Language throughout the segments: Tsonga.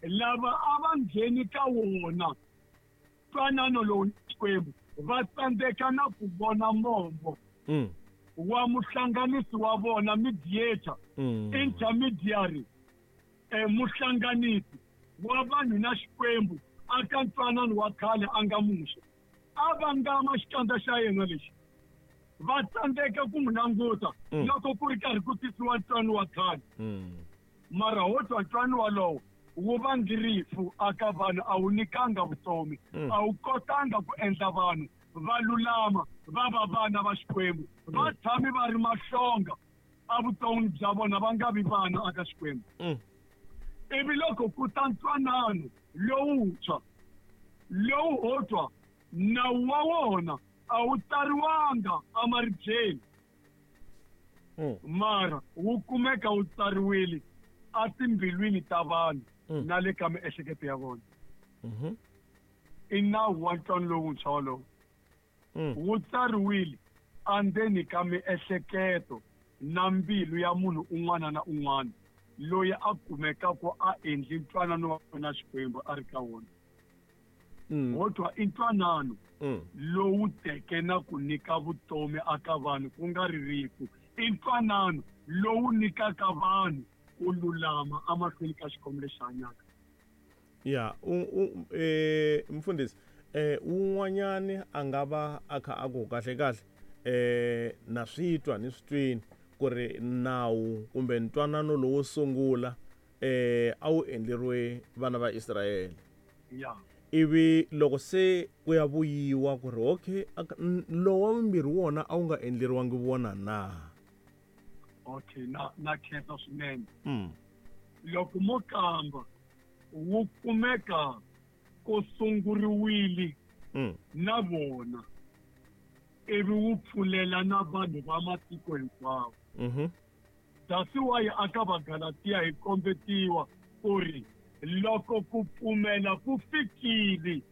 Lava a va ngheni ka wona ntwanano lowu na Xikwembu va tsandzeka na ku vona mombo wa muhlanganisi wa vona, mediator, intermediary, muhlanganisi wa vanhu na Xikwembu aka ntwanano wa khale a nga Muxe. A vangama xikandza xa yena lexi, va tsandzeka ku n'wi languta loko ku ri karhi ku tisiwa ntwano wa khale. Mara ho twa ntwano walowo wu vangi rifu aka vanhu, a wu nyikanga vutomi, a wu kotanga ku endla vanhu va lulama va va vana va Xikwembu. Va tshame va ri mahlonga evuton'wini bya vona, va nga vi vana aka Xikwembu. Ivi loko ku ta ntwanano lowuntshwa lowu ho twa nawu wa wona a wu tsariwanga emaribyeni, mara wu kumeka wu tsariwile etimbilwini ta vanhu na le ka miehleketo ya vona. I nawu wa ntwanano lowuntshwa wolowo. Wu tsariwile endzeni ka miehleketo na mbilu ya munhu un'wana na un'wana loyi a kumekaka a endli ntwanano wa na Xikwembu a ri ka wona. Ho twa i ntwanano lowu teke na ku nyika vutomi aka vanhu, ku nga ri rifu. I ntwanano lowu nyikaka vanhu ku lulama emahlweni ka Xikwembu lexi hanyaka. Ya, mfundhisi, wun'wanyani a nga va a kha a ku kahle kahle na swi twa ni swi twini ku ri nawu kumbe ntwanano lowo sungula a wu endleriwe vana va Israyele. Ivi loko se ku ya vuyiwa ku ri okay, lowu wa vumbirhi wona a wu nga endleriwangi vona na? Okay, na khensa swinene. Loko mo kamba wu kumeka ku sunguriwile na vona, ivi wu pfulela na vanhu va matiko hinkwawo. That's why aka Vagalatiya hi kombetiwa ku ri loko ku pfumela ku fikile,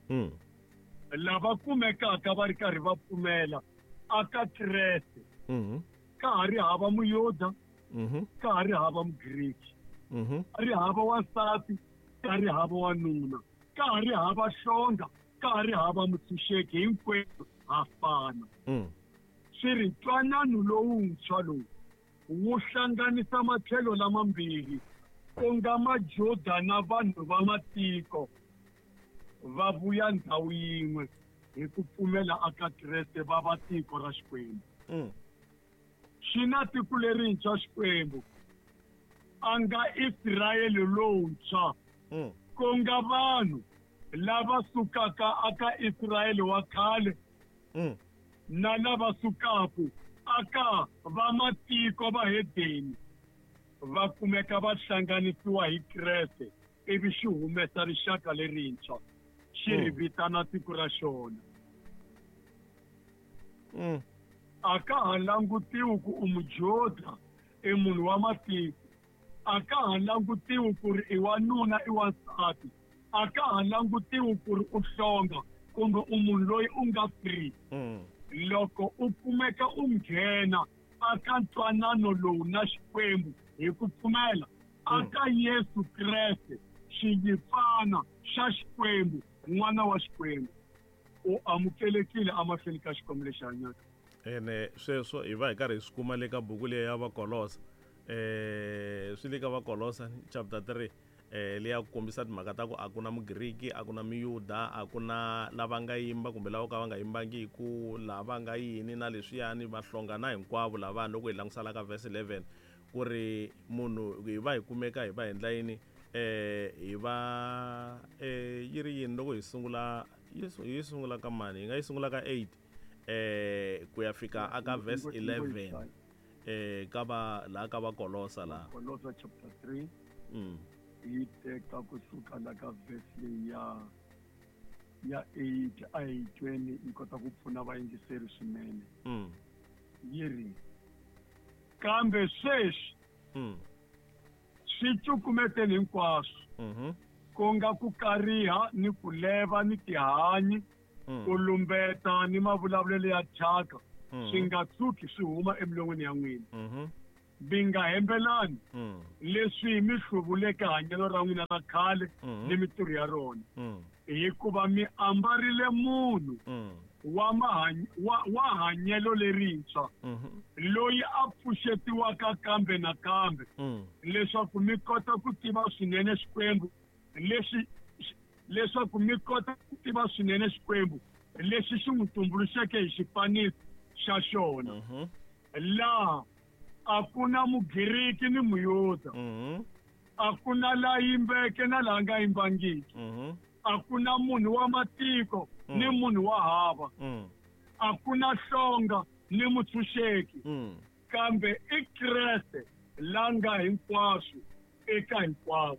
lava kumekaka va ri karhi va pfumela aka Kreste, ka ha ri hava Muyuda, ka ha ri hava Mugriki, ka ri hava wansati, ka ri hava wanuna, ka ha ri hava hlonga, ka ha ri hava mutshunxeki, hinkwenu ha fana. Swi ri ntwanano lowuntshwa lowu wu hlanganisa matlhelo lamambirhi, ku nga Majuda na vanhu va matiko, va vuya ndhawu yin'we hi ku pfumela aka Kreste, va va tiko ra Xikwembu. Xi na tiko lerintshwa Xikwembu, a nga Israyele lowuntshwa, ku nga vanhu lava sukaka aka Israyele wa khale na lava sukaka aka va matiko va hedeni, va kumeka va hlanganisiwa hi Kreste, ivi xi humesa rixaka lerintshwa, xi ri vitana tiko ra xona. A ka ha langutiwi ku u Mujuda, i munhu wa matiko. A ka ha langutiwi ku ri i wanuna, i wansati. A ka ha langutiwi ku ri u hlonga kumbe u munhu loyi u nga free. Loko u kumeka u nghena aka ntwanano lowu na Xikwembu hi ku pfumela aka Yesu Kreste, xinyimpfana xa Xikwembu, n'wana wa Xikwembu, u amukelekile emahlweni ka Xikwembu lexi hanyaka. Ene sweswo hi va hi karhi hi swi kuma le ka buku leyi ya Vakolosa. Swi le ka Vakolosa chapter 3, leya ku kombisa timhaka ta ku a ku na Mugriki, a ku na Muyuda, a ku na lava nga yimba kumbe lava ka va nga yimbangiku, lava nga yini na leswiyani, vahlonga na hinkwavo lavaya. Loko hi langusa la ka verse 11 ku ri munhu hi va hi kumeka hi va hi endla yini, hi va yi ri yini loko hi sungula, yi sungula ka mani, hi nga yi sungula ka 8 ku ya fika aka verse 11, ka va la ka va Kolosa la. Kolosa chapter 3. Yi teka kusuka la ka verse leyi ya 8 a hi tweni, yi kota ku pfuna vayingiseri swinene. Yi ri, kambe sweswi swi cukumeteni hinkwaswo, ku nga ku kariha ni ku leva ni tihanyi, ku lumbeta ni mavulavulelo ya thyaka, swi nga tshuki swi huma emilon'wini ya n'wina. Mi nga hembelani leswi mi hluvuleke hanyelo ra n'wina ra khale ni mintirho ya rona, hikuva mi ambarile munhu wa wa hanyelo lerintshwa, loyi a pfuxetiwaka kambe na kambe, leswaku mi kota ku tiva swinene Xikwembu lexi leswaku mi kota ku tiva swinene Xikwembu lexi xi n'wi tumbuluxeke hi xifaniso xa xona. Laha a ku na Mugiriki ni Muyuda, a ku na la yimbeke na la nga yimbangiki, a ku na munhu wa matiko ni munhu wa hava, a ku na hlonga ni mutshunxeki, kambe i Kreste la nga hinkwaswo eka hinkwavo.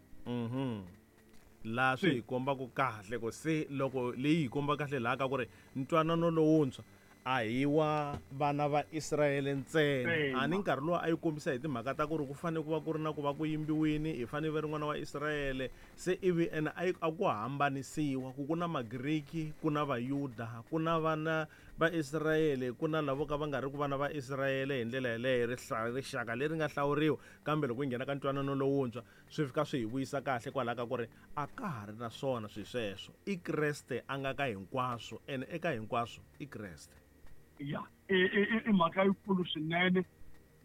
Laha swi hi kombaka kahle ku se loko leyi hi komba kahle laha ka ku ri ntwanano lowuntshwa a hi wa vana va Israyele ntsena. A ni nkarhi lowu a yi kombisa hi timhaka ta ku ri ku fanele ku va ku ri na ku va ku yimbiwini, hi fanele va ri n'wana wa Israyele. Se ivi ene a a ku hambanisiwa ku ku na Magriki, ku na Vayuda, ku na vana va Israyele, ku na lavo ka va nga ri ku vana va Israyele hi ndlela yeleyo, rixaka leri nga hlawuriwa. Kambe loko hi nghena ka ntwanano lowuntshwa, swi fika swi hi vuyisa kahle kwalaho ka ku ri a ka ha ri na swona swi sweswo. I Kreste a nga ka hinkwaswo, ene eka hinkwaswo i Kreste. Ya, i mhaka yikulu swinene,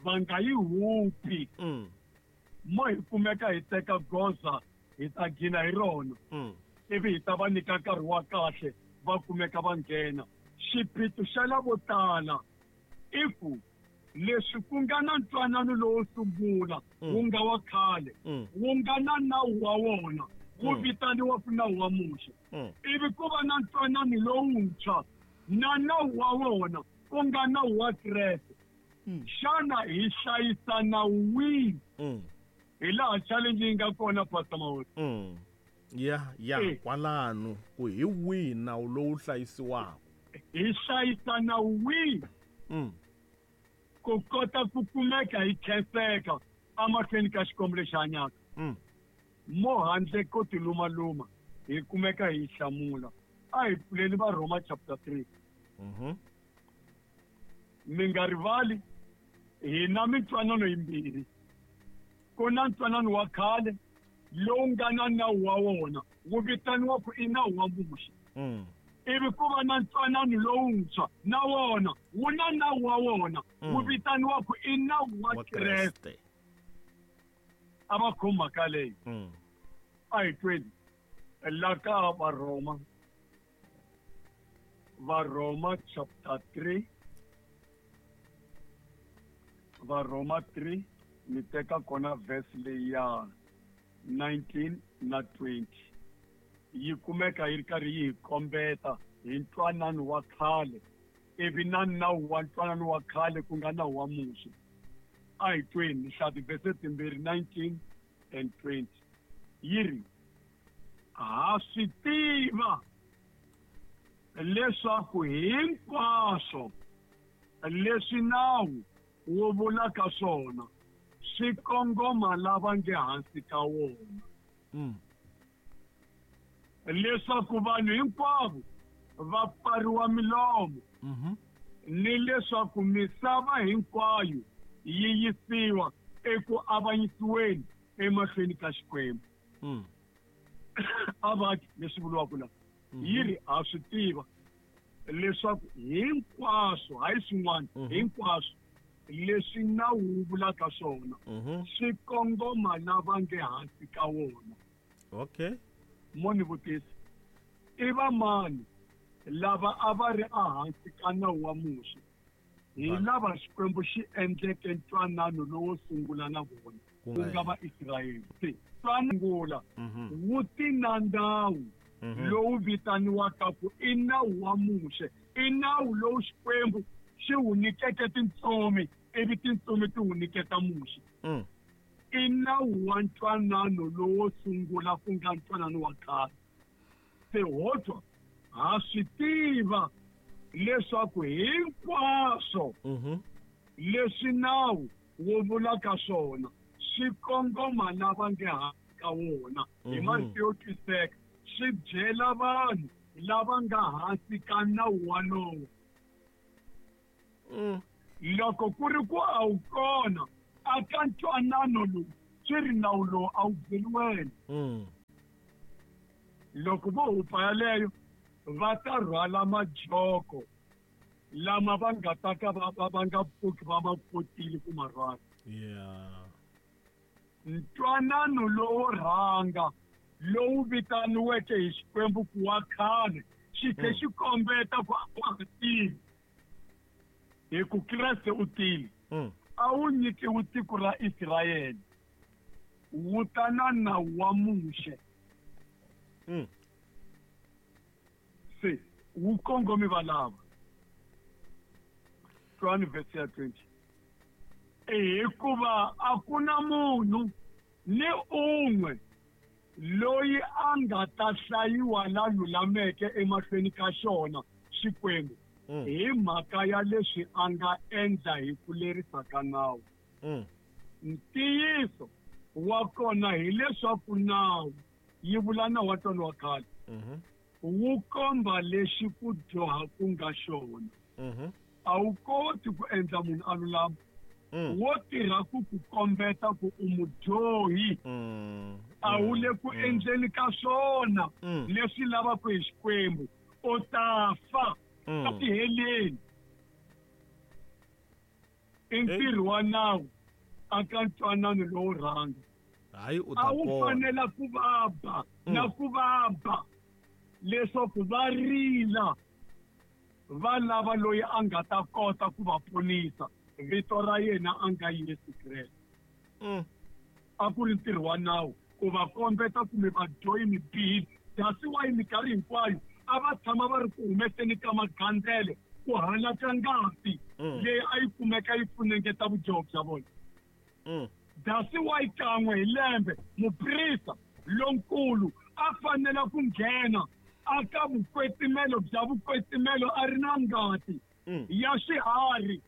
va nga yi hupi. Mo hi kumeka hi teka goza hi ta gina hi rona, ivi hi ta va nyika nkarhi wa kahle va kumeka va nghena. Xiphiqo xa lavo tala i ku leswi ku nga na ntwanano lowo sungula wu nga wa khale, wu nga na nawu wa wona, wu vitaniwa ku nawu wa Muxe, ivi ku va na ntwanano lowuntshwa na nawu wa wona, ku nga nawu wa Kreste. Xana hi hlayisa nawu wihi? Hi laha challenge yi nga kona, Pastor Mawuli. Ya kwalano ku hi wihi nawu lowu hlayisiwaka? Hi hlayisa nawu wihi ku kota ku kumeka hi khenseka emahlweni ka Xikwembu lexi hanyaka? Mo handle ko tilumaluma hi kumeka hi hlamula. A hi pfuleni va Roma chapter 3. Mi nga rivali, hi na mintwanano yimbirhi. Ku na ntwanano wa khale lowu nga na nawu wa wona, wu vitaniwa ku i nawu wa Muxe. Ivi ku va na ntwanano lowuntshwa, na wona wu na nawu wa wona, wu vitaniwa ku i nawu wa Kreste. A va khomi mhaka leyi. A hi tweni la ka Varhoma, Varhoma chapter 3, Varhoma 3, ni teka kona verse leyi ya 19 na 20. Yi kumeka yi ri karhi yi hi kombeta hi ntwanano wa khale ivi na nawu wa ntwanano wa khale, ku nga nawu wa Muxe. A hi tweni, ni hlaya tivhese timbirhi, 19 and 20. Yi ri, ha swi tiva leswaku hinkwaswo leswi nawu wu vulaka swona swi kongoma lava nge hansi ka wona, leswaku vanhu hinkwavo va pfariwa milomo, ni leswaku misava hinkwayo yi yisiwa eku avanyisiweni emahlweni ka Xikwembu. A va leswi vuriwaka la, yi ri ha swi tiva leswaku hinkwaswo, hayi swin'wana, hinkwaswo leswi nawu wu vulaka swona swi kongoma lava nge hansi ka wona. Mo ni vutisa, i va mani lava a va ri ehansi ka nawu wa Muxe? Hi lava Xikwembu xi endleke ntwanano lowo sungula na vona, ku nga va Israyele. Se ntwanangula wu ti na nawu lowu vitaniwaka ku i nawu wa Muxe, i nawu lowu Xikwembu xi wu nyikeke tintsumi, ivi tintsumi ti wu nyiketa Muxe. I nawu wa ntwanano lowo sungula, ku nga ntwanano wa khale. Se ho twa, ha swi tiva leswaku hinkwaswo leswi nawu wu vulaka swona swi kongoma lava nge hansi ka wona. Hi marito yo twiseka, swi byela vanhu lava nga hansi ka nawu walowo. Loko ku ri ku a wu kona Aka ntwanano lowu swi ri nawu lowu a wu byeli wena. Loko vo hupa yaleyo va ta rhwala majoko lama va nga ta ka va nga pfuki va ma kotile ku ma rhwala. Ntwanano lowo rhanga lowu vitaniweke hi Xikwembu ku wa khale xi tlhe xi kombeta ku a wa ha tili hi ku Kreste u tile. A wu nyikiwi tiko ra Israyele, wu ta na nawu wa Muxe. Se wu kongomi valava. Twani verse ya 20. Hikuva a ku na munhu ni un'we loyi a nga ta hlayiwa la lulameke emahlweni ka xona Xikwembu hi mhaka ya leswi a nga endla hi ku lerisa ka nawu. Ntiyiso wa kona hileswaku nawu, yi vula nawu wa tona wa khale, wu komba lexi ku dyoha ku nga xona. A wu koti ku endla munhu a lulama. Wo tirha ku ku kombeta ku u mudyohi. A wu le ku endleni ka swona leswi lavaka hi Xikwembu. U ta fa etiheleni. I ntirho wa nawu aka ntwanano lowo rhanga. Hayi, u ta A wu fanela ku va ba na ku va ba leswaku va rila va lava loyi a nga ta kota ku va ponisa. Vito ra yena a nga Yesu Kreste. A ku ri ntirho wa nawu ku va kombeta kumbe vadyohi mi bihile. That's why minkarhi hinkwayo a va tshama va ri ku humeseni ka magandzelo ku halaka ngati leyi a yi kumeka yi funengeta vudyoho bya vona. That's why kan'we hi lembe muprista lonkulu a fanela ku nghena aka vukwetsimelo bya vukwetsimelo a ri na ngati ya swiharhi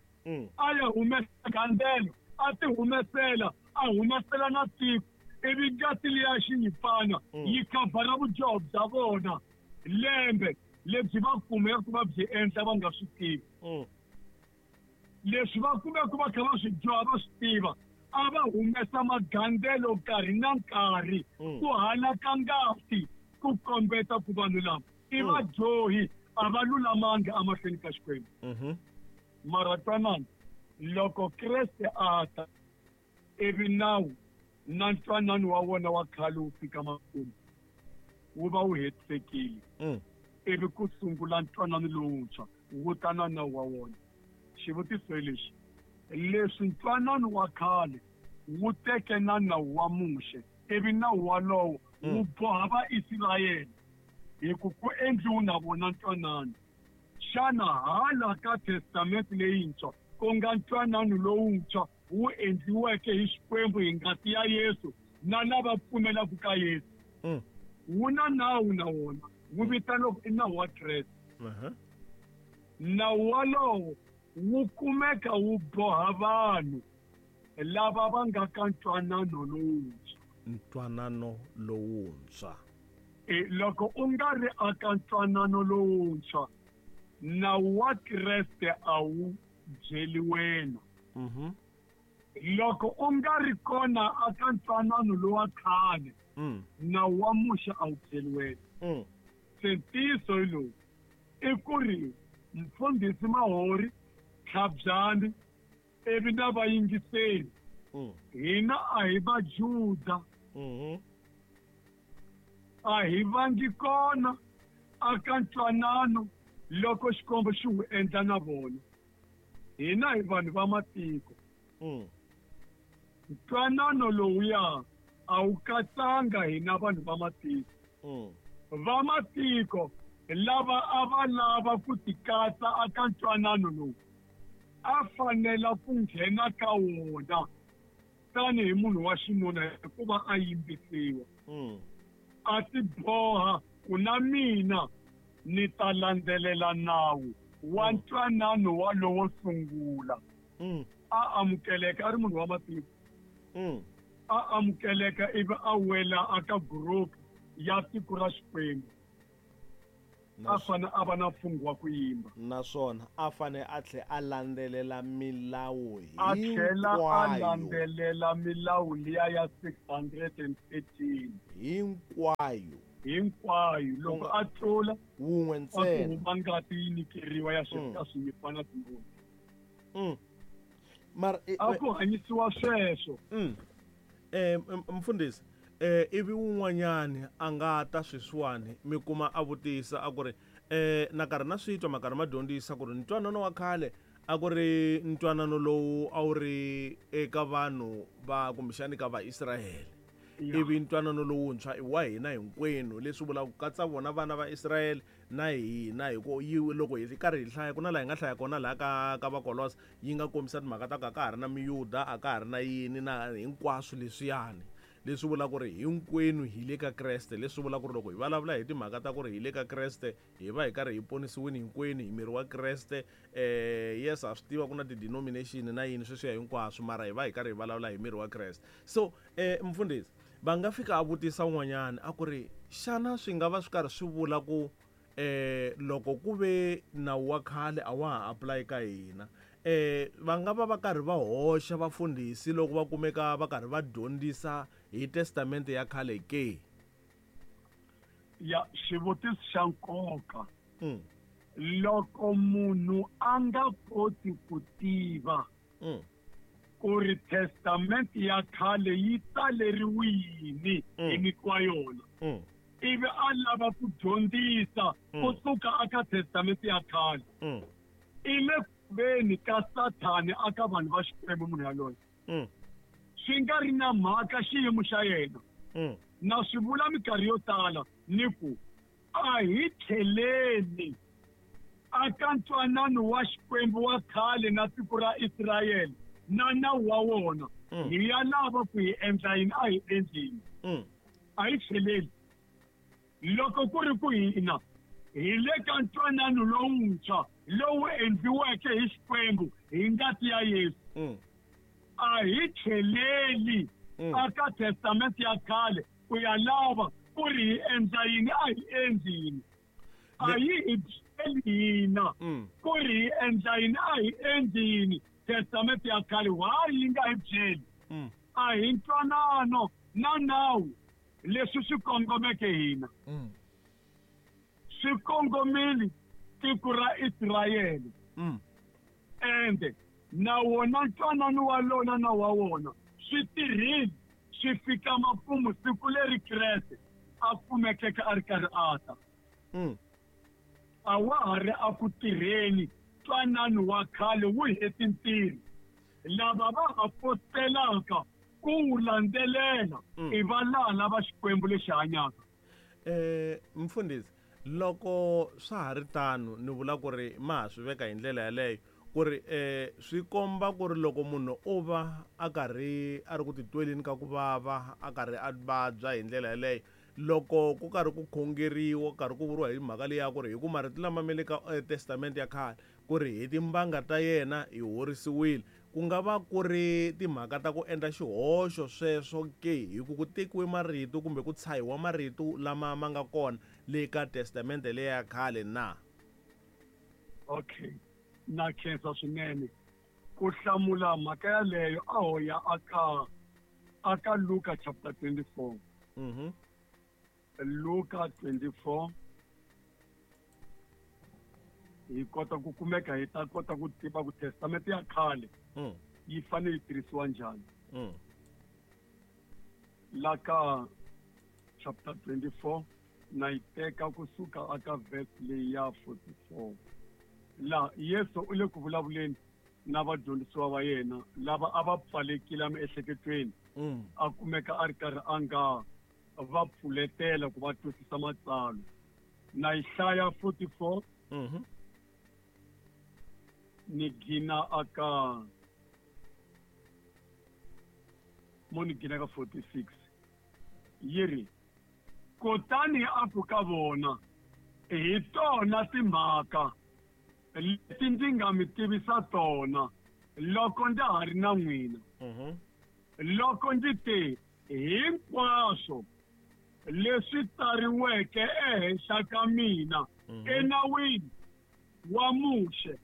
a ya humesa gandzelo, a ti humesela, a humesela na tiko, ivi ngati liya xinyimpfana yi khavhara vudyoho bya vona lembe lebyi va kumeke va byi endla va nga swi tivi. Leswi va kumeke va kha va swi dyoha va swi tiva, a va humesa magandzelo nkarhi na nkarhi ku halaka ngati ku kombeta ku vanhu lava i vadyohi, a va lulamangi emahlweni ka Xikwembu. Mara twanana, loko Kreste a ta ivi nawu na ntwanano wa wona wa khale wu fika makumu, wu va wu hetisekile. Ivi ku sungula ntwanano lowuntshwa wu ta na nawu wa wona. Xivutiso hi lexi: leswi ntwanano wa khale wu teke na nawu wa Muxe, ivi nawu walowo wu boha Vaisrayele hi ku ku endliwe na vona ntwanano, xana hala ka Testamente leyintshwa, ku nga ntwanano lowuntshwa wu endliweke hi Xikwembu hi ngati ya Yesu na lava pfumelaka ka Yesu, wu na nawu na wona, wu vitaniwa i nawu wa Kreste. Nawu walowo wu kumeka wu boha vanhu lava va nga ka ntwanano lowuntshwa. Ntwanano lowuntshwa. Loko u nga ri aka ntwanano lowuntshwa, nawu wa Kreste a wu byeli wena. Loko u nga ri kona aka ntwanano lowa khale, nawu wa Muxe a wu byeli wena. Se ntiyiso hi lowu, i ku ri mfundhisi Mahori, Tlhabyani, ivi na vayingiseri, hina a hi Vajuda, a hi vangi kona aka ntwanano loko Xikwembu xi wu endla na vona. Hina hi vanhu va matiko. Ntwanano lowuya a wu katsanga hina vanhu va matiko. Va matiko lava a va lava ku tikatsa aka ntwanano lowu a fanela ku nghena ka wona tanihi munhu wa xinuna hikuva a yimbisiwa. A ti boha ku na mina ni ta landzelela nawu wa ntwanano walowo sungula. A amukeleka a ri munhu wa matiko. A amukeleka ivi a wela aka group ya tiko ra Xikwembu. A fanele a va na mfungho wa ku yimba. Naswona a fanele a tlhela a landzelela milawu A tlhela a landzelela milawu liya ya 613 hinkwayo. Hinkwayo. Loko a tlula wun'we ntsena, ku huma ngati yi nyikeriwa ya ka swinyimpfana timbuti. Mara a ku hanyisiwa sweswo. Mfundhisi, ivi wun'wanyani a nga ta sweswiwani mi kuma a vutisa a ku ri na karhi na swi twa makarhi ma dyondzisa ku ri ntwanano wa khale a ku ri ntwanano lowu a wu ri eka vanhu va kumbexani ka Vaisrayele, ivi ntwanano lowuntshwa i wa hina hinkwenu, leswi vulaka ku katsa vona vana va Israyele na hina. Hi ku loko hi karhi hi hlaya ku na laha hi nga hlaya kona laha ka Vakolosa yi nga kombisa timhaka ta ku a ka ha ri na miyuda, a ka ha ri na yini na hinkwaswo leswiyani, leswi vulaka ku ri hinkwenu hi le ka Kreste. Leswi vulaka ku ri loko hi vulavula hi timhaka ta ku ri hi le ka Kreste, hi va hi karhi hi ponisiwile hinkwenu hi miri wa Kreste. Yes, ha swi tiva ku na ti-denomination na yini sweswiya hinkwaswo, mara hi va hi karhi hi vulavula hi miri wa Kreste. So mfundhisi, va nga fika a vutisa un'wanyana a ku ri xana swi nga va swi karhi swi vula ku loko ku ve nawu wa khale a wa ha apply ka hina, va nga va va karhi va hoxa vafundhisi loko va kumeka va karhi va dyondzisa hi testamente ya khale ke? Ya, xivutiso xa nkoka. Loko munhu a nga koti ku tiva ku ri testamente ya khale yi tsaleriwini hi nyikiwa yona, ivi a lava ku dyondzisa kusuka aka testamente ya khale, i le kuveni ka Sathani aka vanhu va Xikwembu munhu yaloye. Swi nga ri na mhaka xiyimo xa yena. Na swi vula minkarhi yo tala ni ku a hi tlheleni aka ntwanano wa Xikwembu wa khale na tiko ra Israyele na nawu wa wona. Hi ya lava ku hi endla yini, a hi endlini. A hi tlheleni. Loko ku ri ku hina hi le ka ntwanano lowuntshwa lowu endliweke hi Xikwembu hi ngati ya Yesu, a hi tlheleli aka testamente ya khale ku ya lava ku ri hi endla yini, a hi endli yini. A yi hi byeli hina ku ri hi endla yini, a hi endli yini. Testamente ya khale why yi nga hi byeli? A hi ntwanano na nawu leswi swi kongomeke hina. Swi kongomile tiko ra Israyele. Ende na wona ntwanano wa lona na wa wona swi tirhile swi fika makumu siku leri Kreste a kumekeke a ri karhi a ta. A wa ha ri a ku tirheni ntwanano wa khale wu heti ntirho. Lava va ha postelaka ku wu landzelela i va laha lava Xikwembu lexi hanyaka. Mfundhisi, loko swa ha ri tano ni vula ku ri ma ha swi veka hi ndlela yaleyo ku ri swi komba ku ri loko munhu o va a karhi a ri ku titweleni ka ku vava, a karhi a vabya hi ndlela yaleyo, loko ku karhi ku khongeriwa, ku karhi ku vuriwa hi mhaka leyi ya ku ri hi ku marito lama ma le ka testamente ya khale ku ri hi timbanga ta yena hi horisiwile, ku nga va ku ri timhaka ta ku endla xihoxo sweswo ke, hi ku ku tekiwe marito kumbe ku tshahiwa marito lama ma nga kona le ka testamente leya khale na? Okay, na khensa swinene ku hlamula mhaka yaleyo. A ho ya aka Luka chapter 24. Luka 24 hi kota ku kumeka hi ta kota ku tiva ku testamente ya khale yi fanele yi tirhisiwa njhani. La ka chapter 24 na yi teka kusuka aka verse leyi ya 44. La Yesu u le ku vulavuleni na vadyondzisiwa va yena lava a va pfalekile emiehleketweni, a kumeka a ri karhi a nga va pfuletela ku va twisisa matsalwa. Na yi hlaya 44 ni gina aka mo ni gina ka 46 yi ri, kutani a ku ka vona, hi tona timhaka leti ndzi nga mi tivisa tona loko ndza ha ri na n'wina. Loko ndzi te hinkwaswo Leswi tsariweke ehenhla ka mina enawini wa Muxe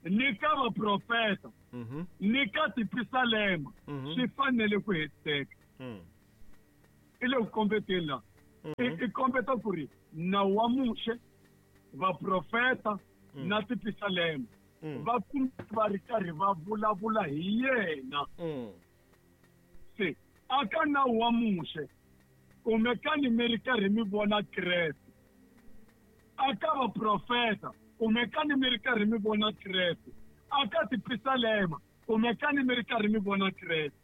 ni ka vaprofeta ni ka tipisalema swi fanele ku hetiseka. I le ku kombeteni laha. I kombeta ku ri nawu wa Muxe, vaprofeta na tipisalema va va ri karhi va vulavula hi yena. Se aka nawu wa Muxe kumekani mi ri karhi mi vona Kreste, aka vaprofeta kumekani mi ri karhi mi vona Kreste, aka tipisalema kumekani mi ri karhi mi vona Kreste.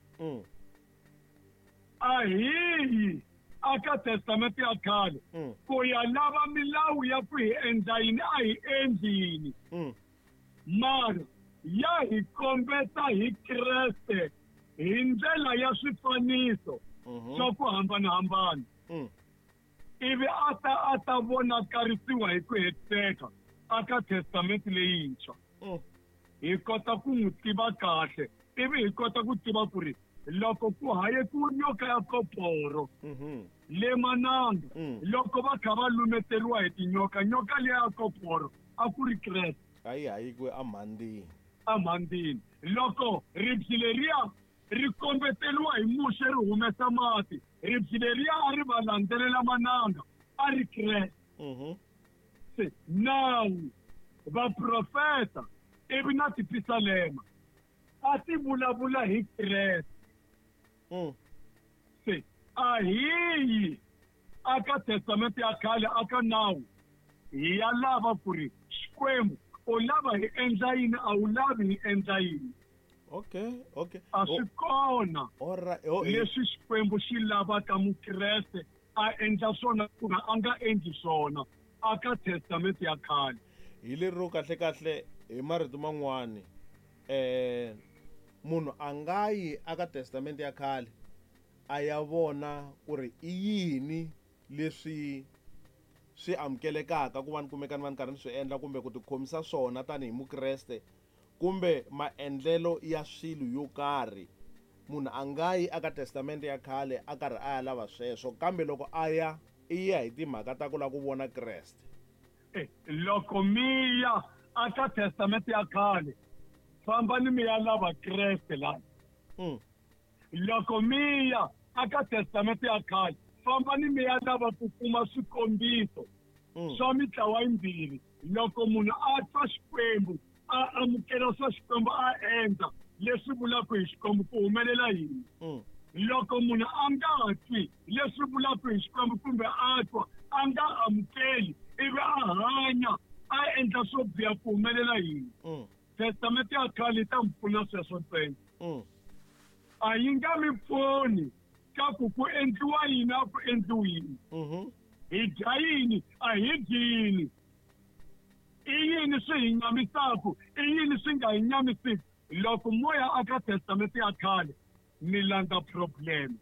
A hiyi aka testamente ya khale ku ya lava milawu ya ku hi endla yini a hi endli yini, mara ya hi kombeta hi Kreste hi ndlela ya swifaniso swa ku hambanahambana, ivi a ta vonakarisiwa hi ku hetiseka aka testamente leyintshwa. Hi kota ku n'wi tiva kahle, ivi hi kota ku tiva ku ri loko ku hayekiwe nyoka ya koporo le mananga, loko va kha va lumeteriwa hi tinyoka, nyoka liya ya koporo a ku ri Kreste. A yi hayekiwe amhandzini. Amhandzini. Loko ribye leriya ri kombeteriwa hi Muxe ri humesa mati, ribye leriya a ri va landzelela mananga a ri Kreste. Se nawu, vaprofeta ivi na tipisalema a ti vulavula hi Kreste. Se a hiyi aka testamente ya khale aka nawu hi ya lava ku ri Xikwembu u lava hi endla yini, a wu lavi hi endla yini. Okay. A swi kona leswi Xikwembu xi lavaka Mukreste a endla swona kumbe a nga endli swona aka testamente ya khale. Hi lero kahle kahle hi marito man'wani, munhu a nga yi aka testamente ya khale a ya vona ku ri i yini leswi swi amukelekaka ku va ni kumekani va ni karhi ni swi endla kumbe ku tikhomisa swona tanihi Mukreste kumbe maendlelo ya swilo yo karhi. Munhu a nga yi aka testamente ya khale a karhi a ya lava sweswo, kambe loko a ya i ya hi timhaka ta ku lava ku vona Kreste. Loko mi ya aka testamente ya khale, fambani mi ya lava Kreste la. Loko mi ya aka testamente ya khale, fambani mi ya lava ku kuma swikombiso swa mitlawa yimbirhi. Loko munhu a twa Xikwembu, a amukela swa Xikwembu, a endla leswi vulaka hi Xikwembu, ku humelela yini? Loko munhu a nga twi leswi vulaka hi Xikwembu kumbe a twa a nga amukeli ivi a hanya a endla swo biha, ku humelela yini? Testamente ya khale yi ta mi pfuna sweswo ntsena. A yi nga mi pfuni ka ku ku endliwa yini a ku endliwi yini, hi dya yini a hi dyi yini, i yini swi hi nyamisaku, i yini swi nga hi nyamisiki. Loko moya aka testamente ya khale mi landza problem.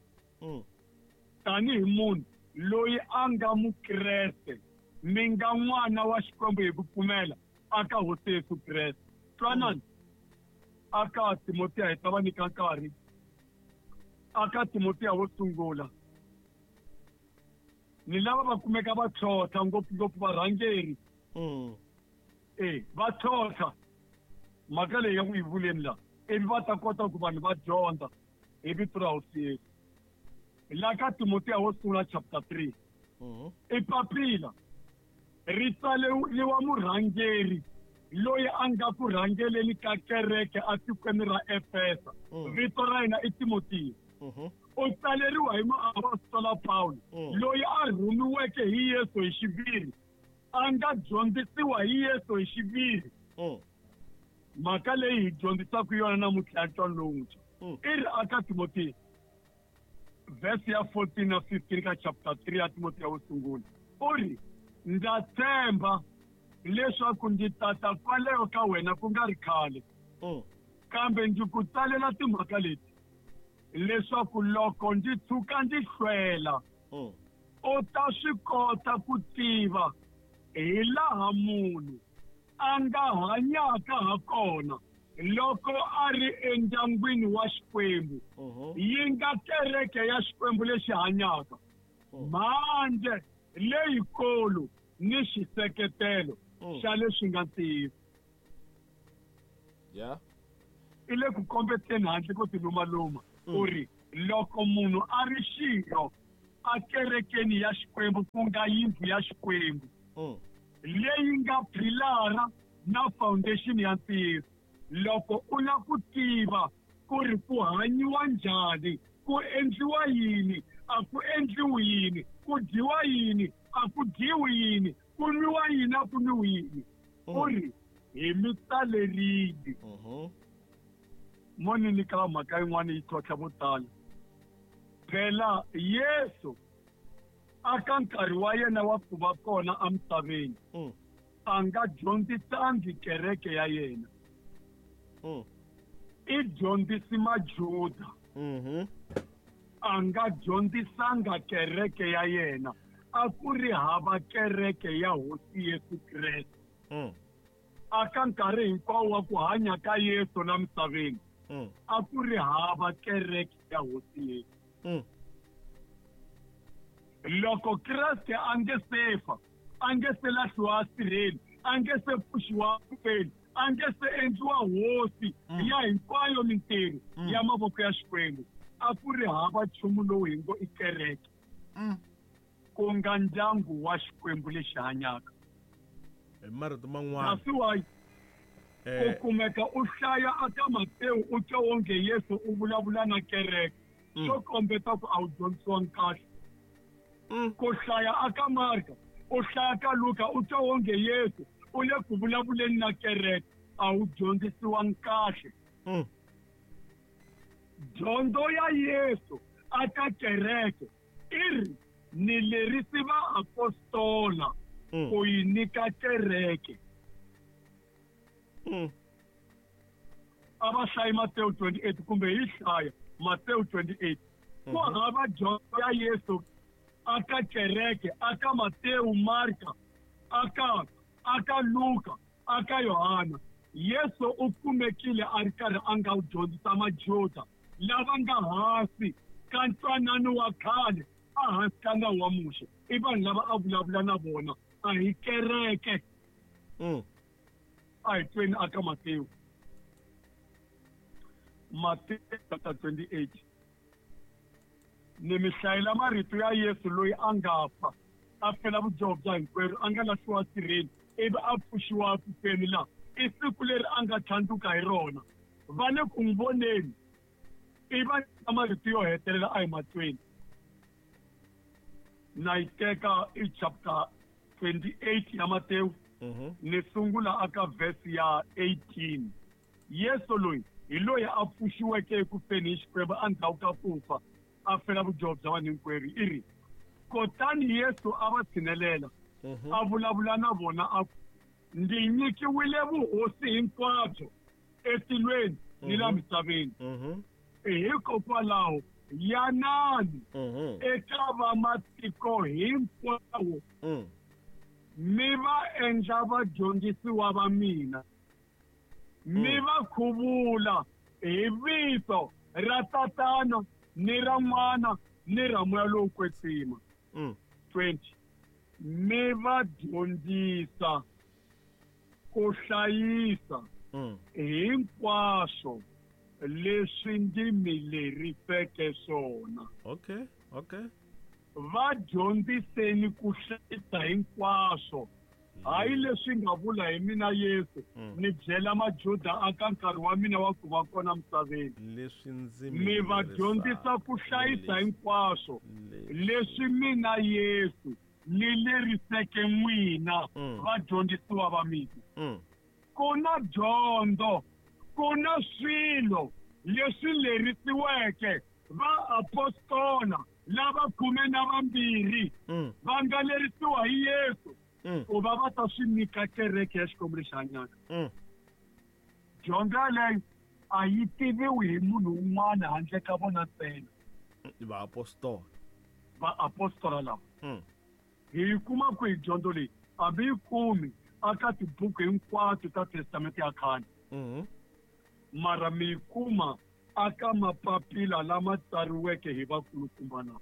Tanihi munhu loyi a nga Mukreste, mi nga n'wana wa Xikwembu hi ku pfumela aka Hosi Yesu Kreste. Twanani aka Timotiya, hi ta va nyika nkarhi. Aka Timotiya wo sungula, ni lava va kumeka va tlhontlha ngopfungopfu varhangeri. Va tlhontlha mhaka leyi ya ku yi vuleni laha, ivi va ta kota ku vanhu va dyondza hi vito ra Hosi Yesu. La ka Timotiya wo sungula chapter 3, i papila ri tsaleriwa murhangeri loyi a nga ku rhangeleni ka kereke atikweni ra Efesa. Vito ra yena i Timotiya. U tsaleriwa hi muapostola Paulo, loyi a rhumiweke hi Yesu hi xiviri, a nga dyondzisiwa hi Yesu hi xiviri. Mhaka leyi hi dyondzisaka yona namuntlha ya ntwanano lowuntshwa i ri aka Timotiya verse ya 14 na 15 ka chapter 3 ya Timotiya wo sungula, u ri: ndza tshemba leswaku ndzi tata kwalaho ka wena ku nga ri khale, kambe ndzi ku tsalela timhaka leti leswaku loko ndzi tshuka ndzi hlwela, u ta swi kota ku tiva hi laha munhu a nga hanyaka ha kona loko a ri endyangwini wa Xikwembu, yi nga kereke ya Xikwembu lexi hanyaka. Mhanje leyikulu ni xiseketelo xa leswi nga ntiyiso. I le ku kombeteni handle ko tilumaluma u ri loko munhu a ri xirho a kerekeni ya Xikwembu ku nga yindlu ya Xikwembu leyi nga philara na foundation ya ntiyiso, loko u lava ku tiva ku ri ku hanyiwa njhani, ku endliwa yini, a ku endliwi yini, ku dyiwa yini, a ku dyiwi yini, ku nwiwa yini, a ku nwiwi yini, u ri hi mi tsalerile. Mo ni nyika mhaka yin'wana yi tlhontlha vo tala. Phela Yesu aka nkarhi wa yena wa ku va kona emisaveni a nga dyondzisangi kereke ya yena. I dyondzisi Majuda. A nga dyondzisanga kereke ya yena. A ku ri hava kereke ya Hosi Yesu Kreste. Aka nkarhi hinkwawo wa ku hanya ka Yesu la misaveni a ku ri hava kereke ya Hosi Yesu. Loko Kreste a nge se fa, a nge se lahliwa asirheni, a nge se pfuxiwa kufeni, a nge se endliwa hosi ya hinkwayo mintirho ya mavoko ya Xikwembu, a ku ri hava nchumu lowu hi ngo i kereke, ku nga ndyangu wa Xikwembu lexi hanyaka. Hi marito man'wana, Kasi wa u kumeka u hlaya aka Matewu u twa wonge Yesu u vulavula na kereke, swo kombeta ku a wu dyondzisiwangi kahle. Ku hlaya aka Marka, u hlaya ka Luka u twa wonge Yesu u le ku vulavuleni na kereke, a wu dyondzisiwangi kahle. Dyondzo ya Yesu aka kereke i ri ni lerisi vaapostola ku yi nyika kereke. A va hlayi Matewu 28 kumbe hi hlaya Matewu 28. Ku hava dyondzo ya Yesu aka kereke, aka Matewu, Marka, aka Luka, aka Yohana. Yesu u kumekile a ri karhi a nga wu dyondzisa Majuda lava nga hansi ka ntwanano wa khale, a hansi ka nawu wa Muxe. I vanhu lava a vulavula na vona, a hi kereke. A hi tweni aka Matewu. Matewu chapter 28. Ni mi hlayela marito ya Yesu loyi a nga fa, a fela vudyoho bya hinkwerhu, a nga lahliwa sirheni, ivi a pfuxiwa kufeni la. I siku leri a nga tlhandluka hi rona. Va le ku n'wi voneni, i va nyika marito yo hetelela a hi matweni. Na yi teka i chapter 28 ya Matewu, ni sungula aka verse ya 18. Yesu loyi hi loyi a pfuxiweke eku feni hi Xikwembu endzhaku ka ku fa, a fela vudyoho bya vanhu hinkwerhu. I ri, kutani Yesu a va tshinelela, a vulavula na vona a ku, ndzi nyikiwile vuhosi hinkwabyo etilweni ni la misaveni. Hikokwalaho yanani eka vamatiko hinkwawo, mi va endla vadyondzisiwa va mina, mi va khuvula hi vito ra Tatana ni ra N'wana ni ra Moya lowo Kwetsima. 20. Mi va dyondzisa ku hlayisa hinkwaswo leswi ndzi mi leriseke swona. Okay, okay. Va dyondziseni ku hlayisa hinkwaswo, hayi leswi nga vula hi mina Yesu, ni byela Majuda aka nkarhi wa mina wa ku va kona misaveni. Leswi ndzi mi va dyondzisa ku hlayisa hinkwaswo leswi mina Yesu ni leriseke n'wina vadyondzisiwa va mina. Ku na dyondzo, ku na swilo leswi lerisiweke vaapostola lava 12 va nga lerisiwa hi Yesu ku va va ta swi nyika kereke ya Xikwembu lexi hanyaka. Dyondzo yaleyo a yi tiviwi hi munhu un'wana handle ka vona ntsena. Vaapostola. Vaapostola lava. Hi yi kuma kwihi dyondzo leyi? Hambi yi kumi aka tibuku hinkwato ta Testamente ya khale. Mara mi yi kuma aka mapapila lama tsariweke hi vakulukumba lava.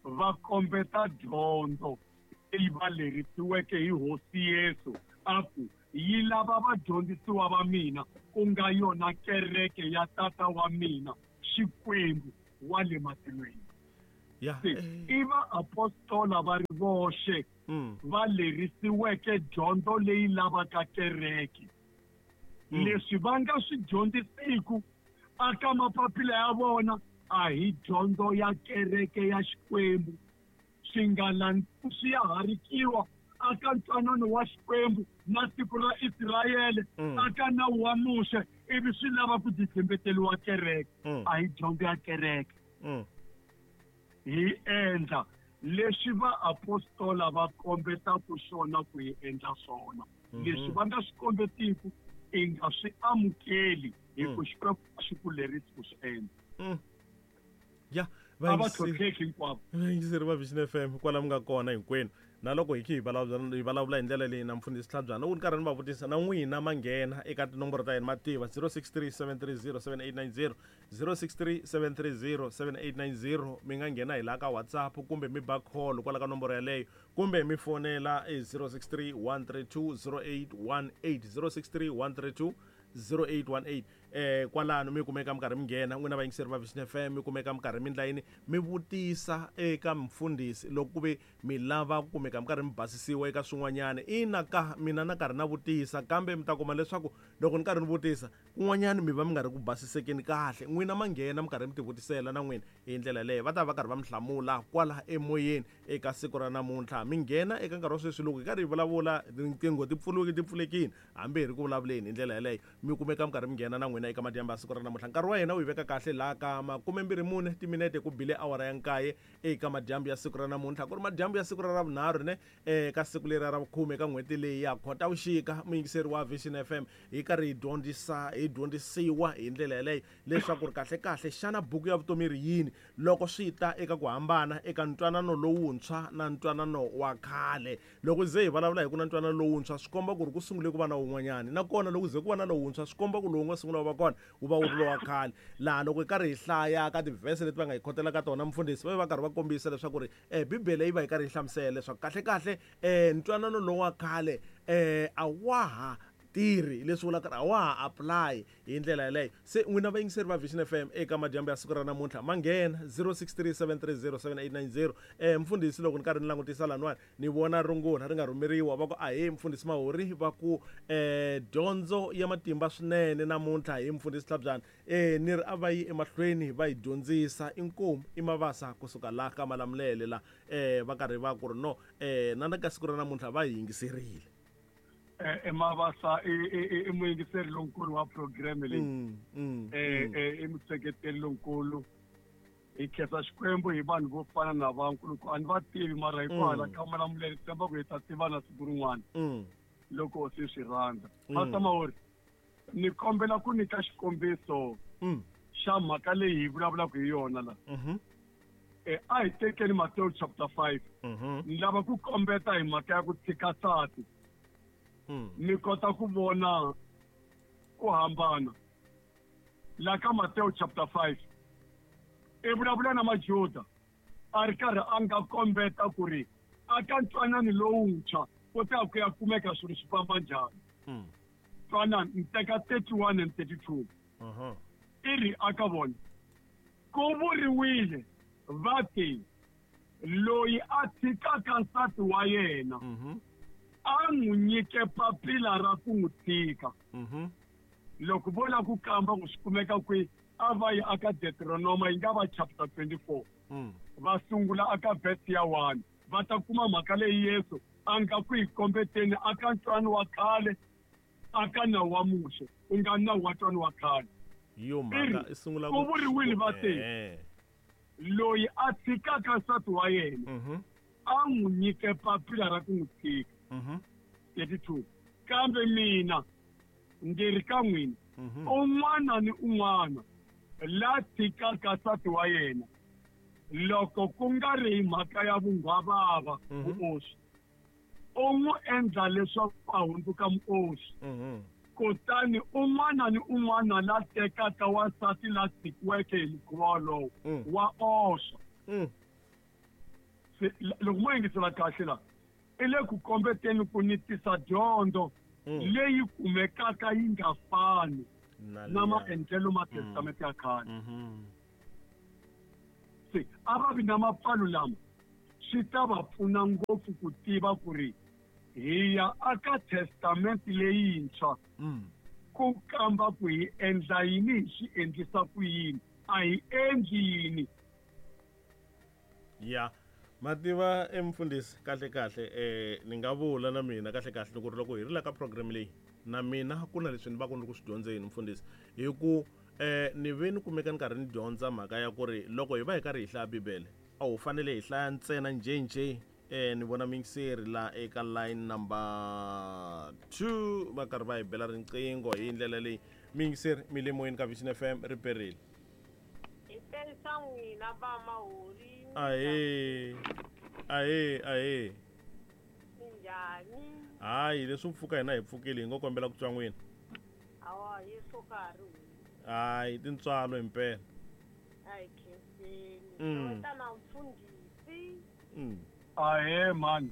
Va kombeta dyondzo leyi va lerisiweke hi Hosi Yesu a ku, Yi lava vadyondzisiwa va mina, ku nga yona kereke ya Tata wa mina, Xikwembu wa le matilweni. Se i vaapostola va ri voxe va lerisiweke dyondzo leyi lavaka kereke. Leswi va nga swi dyondzisiku aka mapapila ya vona a hi dyondzo ya kereke ya Xikwembu. Swi nga swi ya harikiwa aka ntwanano wa Xikwembu na tiko ra Israyele, aka nawu wa Muxe, ivi swi lava ku titshembeteriwa kereke. A hi dyondzo ya kereke. Hi endla leswi vaapostola va kombetaka swona ku hi endla swona. Leswi va nga swi kombetiku i nga swi amukeli hi ku Xikwembu a xi ku lerisi ku swi endla. Ya, a va tlhontlheki hinkwavo. Vayingiseri va Vision FM kwala mi nga kona hinkwenu, na loko hi khe hi vulavula hi ndlela leyi na mfundhisi Tlhabyana, loko ni karhi ni va vutisa na n'wina ma nghena eka tinomboro ta yena ma tiva 063 730 7890, 063 730 7890. Mi nga nghena hi laha ka WhatsApp kumbe mi ba call kwala ka nomboro yaleyo, kumbe mi fonela e 063 132 0818, 063 132 0818. Kwalano mi kumeka mi karhi mi nghena n'wina vayingiseri va Vision FM, mi kumeka mi karhi mi ndla yini, mi vutisa eka mfundhisi loko ku ve mi lava ku kumeka mi karhi mi basisiwa eka swin'wanyana. Ina ka mina na karhi na vutisa, kambe mi ta kuma leswaku loko ni karhi ni vutisa kun'wanyana mi va mi nga ri ku basisekeni kahle. N'wina ma nghena mi karhi mi tivutisela na n'wina hi ndlela leyo, va ta va karhi va mi hlamula kwala emoyeni eka siku ra namuntlha. Mi nghena eka nkarhi wa sweswi loko hi karhi hi vulavula, tinqingho ti pfuriwile, ti pfulekile, hambi hi ri ku vulavuleni hi ndlela yeleyo, mi kumeka mi karhi mi nghena na n'wina eka madyambu ya siku ra namuntlha. Nkarhi wa hina wu hi veka kahle laha ka 24 timinete ku bile awara ya 9 eka madyambu ya siku ra namuntlha, ku ri madyambu ya siku ra Ravunharhu ne eka siku leri ra vukhume eka n'hweti leyi ya Khotavuxika. Muyingiseri wa Vision FM, hi karhi hi dyondzisa, hi dyondzisiwa hi ndlela yeleyo leswaku ri kahle kahle xana buku ya vutomi ri yini loko swi ta eka ku hambana eka ntwanano lowuntshwa na ntwanano wa khale. Loko ze hi vulavula hi ku na ntwanano lowuntshwa, swi komba ku ri ku sungule ku va na wun'wanyani, nakona loko ze ku va na lowuntshwa swi komba ku lowu nga sungula wu va kona wu va wu ri lowa khale. Laha loko hi karhi hi hlaya ka tivhese leti va nga hi khotela ka tona mfundhisi, va va karhi va kombisa leswaku ri Bibele yi va yi karhi yi hlamusela leswaku kahle kahle ntwanano lowu wa khale a wa ha tirhi, leswi vulaka a wa ha apply hi ndlela yeleyo. Se n'wina vayingiseri va Vision FM eka madyambu ya siku ra namuntlha ma nghena 0637307890. Mfundhisi, loko ni karhi ni langutisa laniwani ni vona rungula ri nga rhumeriwa, va ku ahee mfundhisi Mahori, va ku dyondzo ya matimba swinene namuntlha hi mfundhisi Tlhabyana. Ni ri a va yi emahlweni va yi dyondzisa, inkomu i Mavasa kusuka laha ka Malamulele la, va karhi va ku ri no na ka siku ra namuntlha va yi yingiserile. Mavasa i muyingiseri lonkulu wa program leyi, i museketeri lonkulu. Hi khensa Xikwembu hi vanhu vo fana na va nkuluku, a ni va tivi mara hi kwala ka Malamulele, tshemba ku hi ta tivana siku rin'wana loko se swi rhandza. Pastor Mahori, ni kombela ku nyika xikombiso xa mhaka leyi hi vulavulaka hi yona la. A hi tekeni Mateo chapter 5. Ni lava ku kombeta hi mhaka ya ku tshika nsati. Ni kota ku vona ku hambana. La ka Mateo chapter 5, i vulavula na Majuda, a ri karhi a nga kombeta ku ri a ka ntwanano lowuntshwa ku ta ku ya kumeka swilo swi famba njhani. Twanano, ni teka 31 and 32. I ri aka vona, ku vuriwile va te, loyi a tshikaka nsati wa yena, a n'wi nyike papila ra ku n'wi tshika. Loko vo lava ku kamba ku swi kumeka kwihi, a va yi aka Deuteronoma, yi nga va chapter 24. Va sungula aka verse ya 1, va ta kuma mhaka leyi Yesu a nga ku yi kombeteni aka ntwanano wa khale, aka nawu wa Muxe, ku nga nawu wa ntwanano wa khale. Yo mhaka i sungula ku vuriwile va te, loyi a tshikaka nsati wa yena, a n'wi nyike papila ra ku n'wi tshika. 32. Kambe mina ndzi ri ka n'wina, un'wana ni un'wana la tshikaka nsati wa yena, loko ku nga ri hi mhaka ya vunghwavava, vuoswi, u n'wi endla leswaku a hundzuka muoswi. Kutani un'wana ni un'wana la tekaka wansati la tshikiweke hi mukhuva wolowo, wa oswa. Se loko mo yingisela kahle la i le ku kombeteni ku ni tisa dyondzo leyi kumekaka yi nga fani na maendlelo ma testamente ya khale. Se a va vi na mapfalo lama swi ta va pfuna ngopfu ku tiva ku ri hi ya aka testamente leyintshwa ku kamba ku hi endla yini, hi swi endlisa ku yini, a hi endli yini. Ya mativa emfundhisi kahle kahle ni nga vula na mina kahle kahle ku ri loko hi ri la ka program leyi na mina ku na leswi ni va ku ni ri ku swi dyondzeni mfundhisi, hi ku ni ve ni kumeka ni karhi ni dyondza mhaka ya ku ri loko hi va hi karhi hi hlaya Bibele a wu fanele hi hlaya ntsena njhenjhe. Ni vona mingiseri la eka line number 2 va karhi va hi bela riqingho hi ndlela leyi. Mingiseri mi le moyeni ka Vision FM ri perile. Hi pensa n'wina va mahori. Ahee. Ahee, ahee. Minjhani? Hayi, leswi pfuka hina hi pfukile hi ngo kombela ku twa n'wina. Hawa, Yesu ka ha ri hosi. Hayi, tintswalo himpela. A hi khenseni. Xeweta na mfundhisi. Ahee, mani.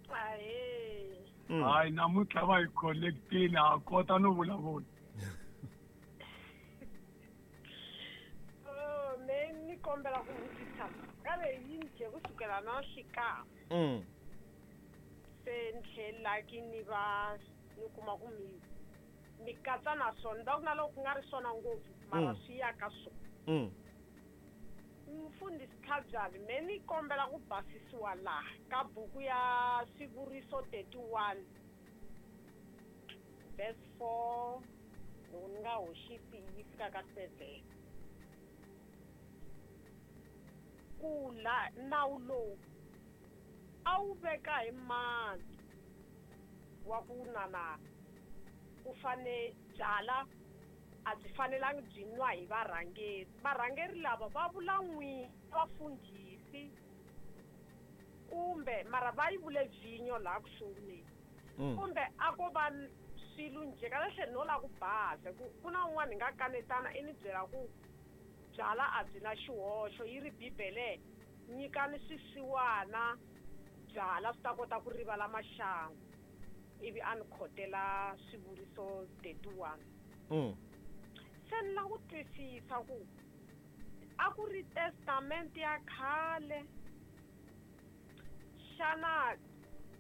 Ahee. Hayi, namuntlha va hi connectile, ha kota no vulavula. Me ni kombela ku vutisa ka leyi njhe kusukela na nhlikani. Se ni tlhela ki ni va ni kuma ku mi katsa na swona, va ku na loko ku nga ri swona ngopfu mara swi ya ka swona. Mfundhisi Tlhabyani, me ni kombela ku basisiwa laha ka buku ya Swivuriso 31 verse 4, loko ni nga hoxisi yi fika ka 7. Ku la nawu lowu a wu veka hi mani wa ku nana ku fane byala a byi fanelangi byi nwa hi varhangeri. Varhangeri lava va vula n'wina vafundhisi kumbe mara va yi vule vhinyo laha ku sunguleni. Kumbe a ko va swilo njhe kahle no la ku basa ku na un'wana hi nga kanetana i ni byela ku byala a byi na xihoxo, yi ri Bibele nyikani swisiwana byala swi ta kota ku rivala maxangu, ivi a ni khotela Swivuriso 31. Se ni la ku twisisa ku a ku ri testamente ya khale, xana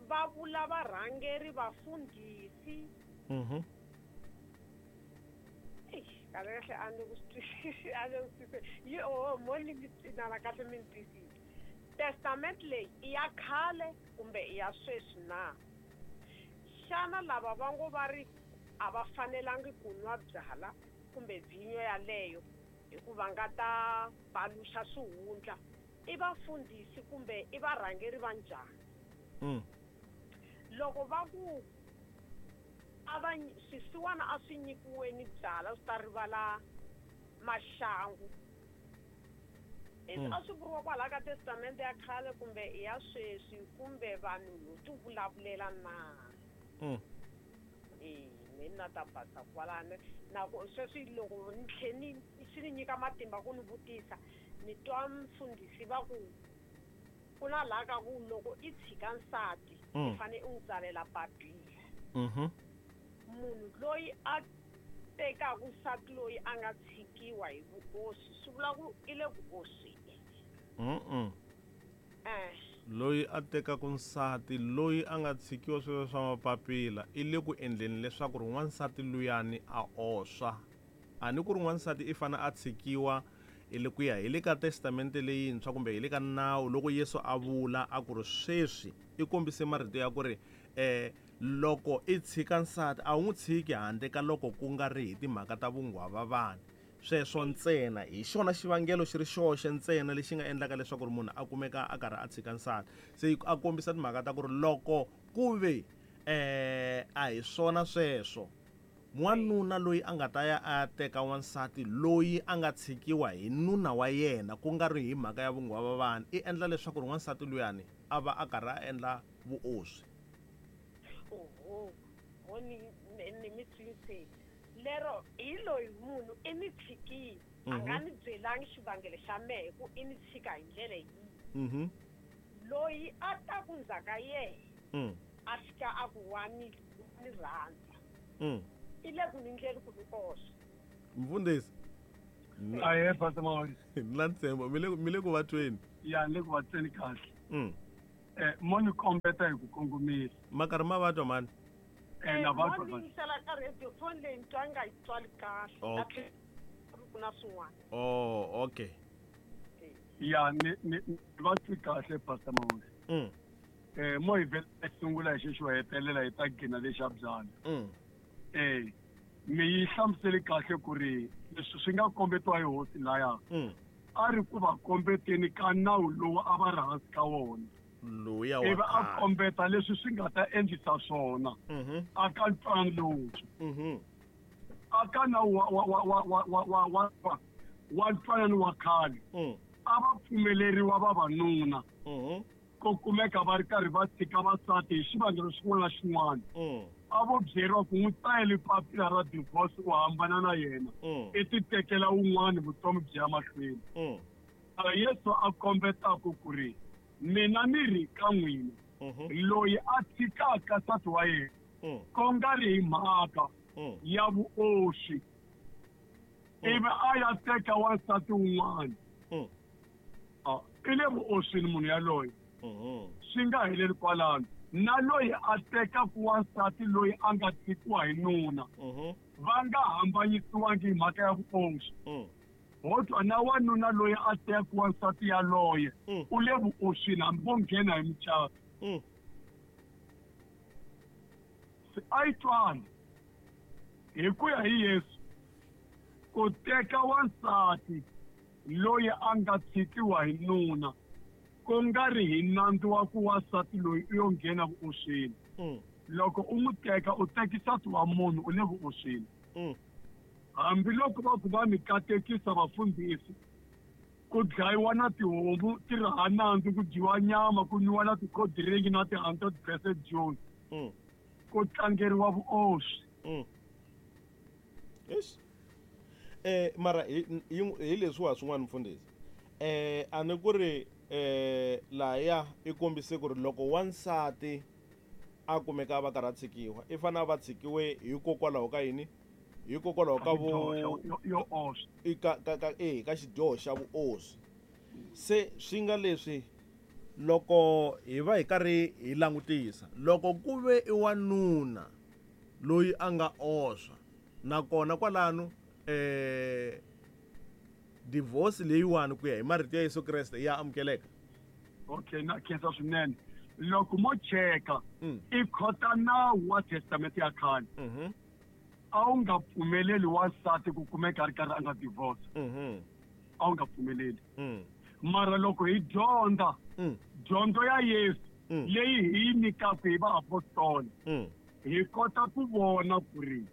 va vula varhangeri vafundhisi? Kahle kahle a ni ku twisisi, a ni ku twisisi. Yi oho, mo ni mi tsinana kahle mi ni twisisa. Testament leyi i ya khale kumbe i ya sweswi na? Xana lava va ngo va ri a va fanelangi ku nwa byala kumbe vhinyo yaleyo hikuva nga ta paluxa swihundla, i vafundhisi kumbe i varhangeri va njhani? Loko va ku a va swisiwana a swi nyikiweni byala swi ta rivala maxangu, a swi vuriwa kwalaha ka testamente ya khale kumbe i ya sweswi kumbe vanhu ho ti vulavulela na? Me ni na ta basa kwalano. Na ku sweswi loko ni tlhe ni swi ni nyika matimba ku ni vutisa, ni twa mfundhisi va ku ku na laha ka ku loko i tshika nsati i fane u n'wi tsalela papila. Munhu loyi a tekaka nsati loyi a nga tshikiwa hi vuoswi swi vula ku i le ku osweni. Loyi a tekaka nsati loyi a nga tshikiwa sweswo swa mapapila i le ku endleni leswaku ri n'wansati luyani a oswa. A ni ku ri n'wansati i fane a tshikiwa i le ku ya hi le ka testamente leyintshwa kumbe hi le ka nawu loko Yesu a vula a ku ri sweswi i kombise marito ya ku ri loko i tshika nsati a wu n'wi tshiki handle ka loko ku nga ri hi timhaka ta vunghwavavani. Sweswo ntsena hi xona xivangelo xi ri xoxe ntsena lexi nga endlaka leswaku ri munhu a kumeka a karhi a tshika nsati. Se a kombisa timhaka ta ku ri loko ku ve a hi swona sweswo, n'wanuna loyi a nga ta ya a teka wansati loyi a nga tshikiwa hi nuna wa yena ku nga ri hi mhaka ya vunghwavavani, i endla leswaku ri wansati luyani a va a karhi a endla vuoswi. Oho, mo ni mi twisise. Lero hi loyi munhu i ni tshikile, a nga ni byelangi xivangelo xa mehe ku i ni tshika hi ndlela yihi. Loyi a ta ku ndzhaka yena a fika a ku wa ni rhandza. I le ku ni ndleni ku ni oswa. Mfundhisi. Ahe Pastor Mahosi. Ni ntshembo mi le ku va tweni. Ya ni le ku va tweni kahle. Mo ni kombeta hi ku kongomisa. Makarhi ma va twa mani? Na va twa. Mo ni yingisela ka radio phone leyi ni twa nga yi twali kahle. Okay. Ku na swin'wana. Oh, okay. Ya ni va twi kahle Pastor Mahosi. Mo hi vhela sungula hi xexo hetelela hi ta gina lexa byala. Mi yi hlamusele kahle ku ri leswi swi nga kombetiwa hi hosi laya. A ri ku va kombeteni ka nawu lowu a va ri hansi ka wona. Loya wa ivi a kombeta leswi swi nga ta endlisa swona. A ka ntwanano lowuntshwa. A ka nawu wa ntwanano wa khale. A va pfumeleriwa vavanuna. Ko kumeka va ri karhi va tshika vasati hi xivangelo xin'wana na xin'wana. A vo byeriwa ku n'wi tsalela papila ra divorce u hambana na yena. I ti tekela wun'wana vutomi byi ya mahlweni. Yesu a kombetaka ku ri mina ni ri ka n'wina loyi a tshikaka nsati wa yena ko nga ri hi mhaka ya vuoswi ivi a ya teka wansati wun'wana. I le vuoswini munhu yaloye. Swi nga heleli kwalano. Na loyi a tekaka wansati loyi a nga tshikiwa hi nuna va nga hambanyisiwangi hi mhaka ya vuoswi. Ho twa na wanuna loyi a tekaka wansati yaloye u le vuoswini hambi vo nghena hi mucato. A yi twani hi ku ya hi Yesu ku teka wansati loyi a nga tshikiwa hi nuna ku nga ri hi nandzu wa ku wansati loyi u yo nghena vuoswini. Loko u n'wi teka u teki nsati wa munhu u le vuoswini. Hambiloko va ku va mi katekisa vafundhisi ku dlayiwa na tihomu ti ri ha nandzu ku dyiwa nyama ku nwiwa na tikhodiringi na ti-100% June. Ku tlangeriwa vuoswi. Eish. Mara hi leswiwa swin'wana mfundhisi. A ni ku ri laya i kombise ku ri loko wansati a kumeka va karhi a tshikiwa i fanele va tshikiwe hikokwalaho ka yini? Hikokwalaho ka yo oswa. Ka xidyoho xa vuoswi. Se swi nga leswi loko hi va hi karhi hi langutisa loko ku ve i wanuna loyi a nga oswa nakona kwalano divorce leyiwani ku ya hi marito ya Yesu Kreste ya amukeleka. Okay, na khensa swinene. Loko mo cheka i khota nawu wa testament ya khale. A wu nga pfumeleli wansati ku kumeka a ri karhi a nga divorce. A wu nga pfumeleli. Mara loko hi dyondza dyondzo ya Yesu leyi hi yi nyikaka hi vaapostola hi kota ku vona ku ri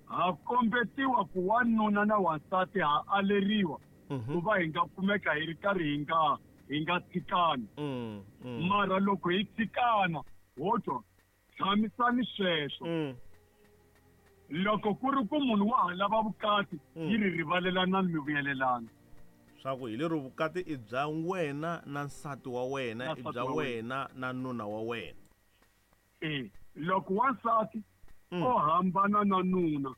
ha kombetiwa ku wanuna na wansati ha aleriwa ku va hi nga kumeka hi ri karhi hi nga tshikani. Mara loko hi tshikana ho twa tshamisani sweswo. Loko ku ri ku munhu wa ha lava vukati yi ri rivalelanani mi vuyelelana. Swa ku hi lero vukati i bya wena na nsati wa wena, i bya wena na nuna wa wena. Loko wansati o hambana na nuna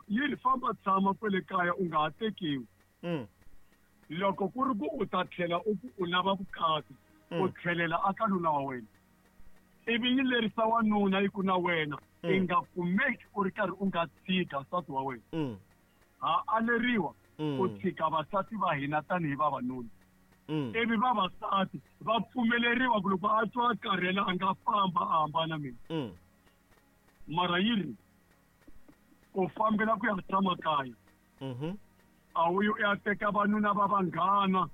yi ri famba tshama kwele kaya u nga ha tekiwi. Loko ku ri ku u ta tlhela u ku u lava vukati u tlhelela aka nuna wa wena. Ivi yi lerisa wanuna yi ku na wena i nga kumeki u ri karhi u nga tshika nsati wa wena. Ha aleriwa ku tshika vasati va hina tanihi vavanuna. Ivi vavasati va pfumeleriwa ku loko a twa a karhela a nga famba a hambana mina. Mara yi ri u fambela ku ya tshama kaya. A wu yi u ya teka vanuna va vanghana.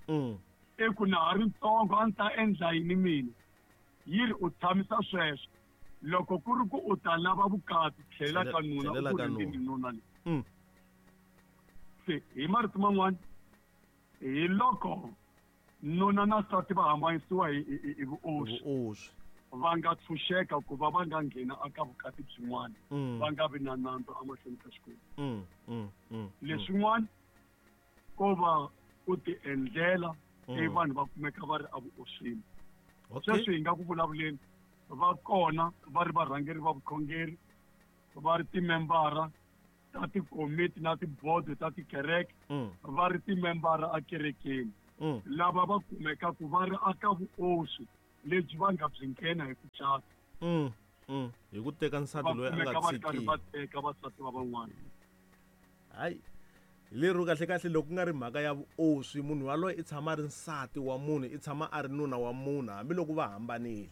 I ku na ha ri ntsongo a ndzi ta endla yini mina. Yi ri u tshamisa sweswo. Loko ku ri ku u ta lava vukati tlhela ka nuna u ku ri nuna leyi. Se hi marito man'wana hi loko nuna na nsati va hambanyisiwa hi vuoswi va nga tshunxeka ku va va nga nghena aka vukati byin'wana va nga vi na nandzu emahlweni ka Xikwembu. Leswin'wana ko va ku ti endlela i vanhu va kumeka va ri evuoswini. Sweswi hi nga ku vulavuleni va kona va ri varhangeri va vukhongeri, va ri timembara ta tikomiti na tibodo ta tikereke, va ri timembara ekerekeni, lava va kumekaku va ri aka vuoswi lebyi va nga byi nghena hi ku cata. Hi ku teka nsati loyi a nga tshiki. Va teka vasati va van'wana. Hayi, lero kahle kahle loko ku nga ri mhaka ya vuoswi, munhu yaloye i tshama a ri nsati wa munhu, i tshama a ri nuna wa munhu hambiloko va hambanile.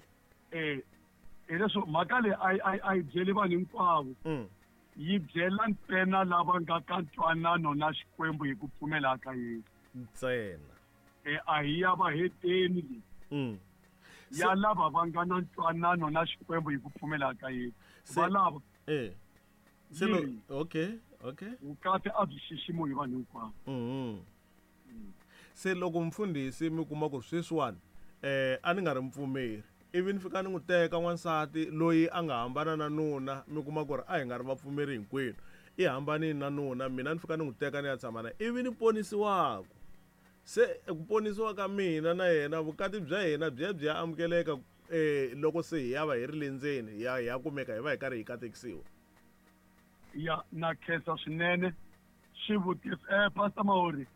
Hileswo mhaka leyi a yi byeli vanhu hinkwavo. Yi byela ntsena lava nga ka ntwanano na Xikwembu hi ku pfumela ka Yesu. Ntsena. A hi ya vaheteni leyi. Ya lava va nga na ntwanano na Xikwembu hi ku pfumela ka Yesu. Va lava. Se okay, okay. Vukati a byi xiximiwi hi vanhu hinkwavo. Se loko mfundhisi mi kuma ku sweswiwani a ni nga ri mupfumeri, ivi ni fika ni n'wi teka n'wansati loyi a nga hambana na nuna, mi kuma ku ri a hi nga ri vapfumeri hinkwenu, i hambanile na nuna, mina ni fika ni n'wi teka ni ya tshama na ivi ni ponisiwaku. Se ku ponisiwa ka mina na yena, vukati bya hina byi ya byi ya amukeleka loko se hi ya va hi ri le ndzeni, hi ya kumeka hi va hi karhi hi katekisiwa. Ya, na khensa swinene xivutiso. Pastor Mahori,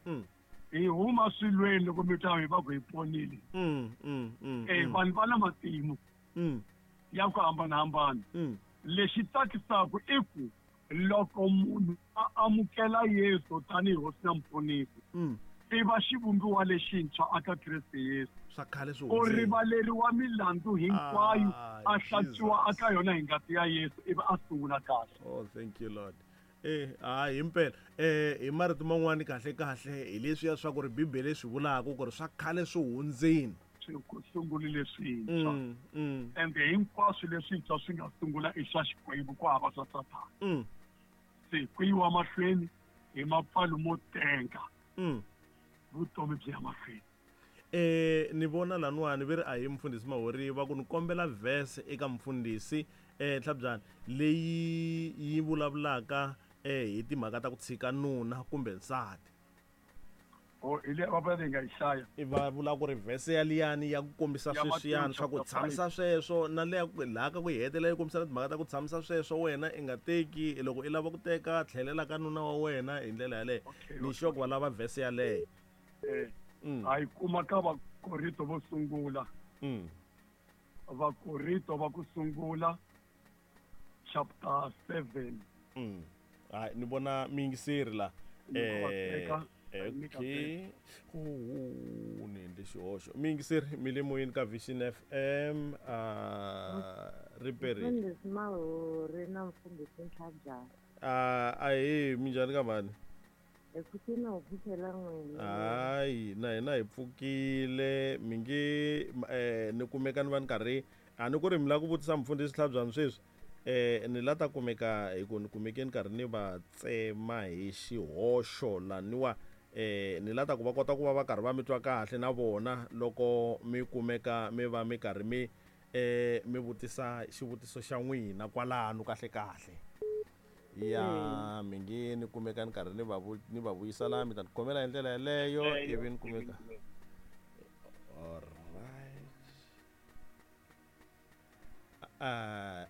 hi huma swilweni loko mi ta hi va ku hi ponile. Vanhu va na matimu ya ku hambanahambana. Lexi tsakisaka i ku loko munhu a amukela Yesu tanihi hosi na muponisi, i va xivumbiwa lexintshwa aka Kreste Yesu. Swa khale swi U rivaleriwa milandzu hinkwayo, a hlantswiwa aka yona hi ngati ya Yesu, ivi a sungula kahle. Oh, thank you Lord. Hayi himpela. Hi marito man'wani kahle kahle hi leswiya swa ku ri Bibele swi vulaka ku ri swa khale swi hundzini. Swi sungule leswintshwa. Ende hinkwaswo leswintshwa swi nga sungula i swa Xikwembu, ku hava swa Sathana. Se ku yiwa mahlweni hi mapfalo mo tenga. Vutomi byi ya mahlweni. Ni vona laniwani ve ri a hi mfundhisi Mahori va ku ni kombela verse eka mfundhisi Tlhabyana leyi yi vulavulaka hi timhaka ta ku tshika nuna kumbe nsati. Oh, hi leyi va nga yi hlaya. I va vula ku ri verse ya liyani ya ku kombisa sweswiyani swa ku tshamisa sweswo, na leya laha ka ku yi hetelela yi kombisa timhaka ta ku tshamisa sweswo, wena i nga teki, loko i lava ku teka tlhelela ka nuna wa wena hi ndlela yaleyo. Ni sure ku va lava verse yaleyo. A yi kuma ka Vakorinto vo sungula. Vakorinto va ku sungula chapter 7. Hayi, ni vona miyingiseri la. Okay. Ni endle xihoxo. Miyingiseri mi le moyeni ka Vision FM, riperile. Mfundhisi Mahori na mfundhisi Ntlhabyana. Ahee, minjhani ka mhani? Hi pfukile ho pfukela n'wina. Hayi, na hina hi pfukile. Mi nge ni kumeka ni va ni karhi a ni ku ri mi lava ku vutisa mfundhisi Tlhabyana sweswi. Ni la ta kumeka hi ku ni kumeke ni karhi ni va tsema hi xihoxo laniwa. Ni la ta ku va kota ku va va karhi va mi twa kahle na vona loko mi kumeka mi va mi karhi mi mi vutisa xivutiso xa n'wina kwalano kahle kahle. Ya, mi nge ni kumeka ni karhi ni va vuyisa laha, mi ta ni khomela hi ndlela yeleyo ivi ni kumeka. All right.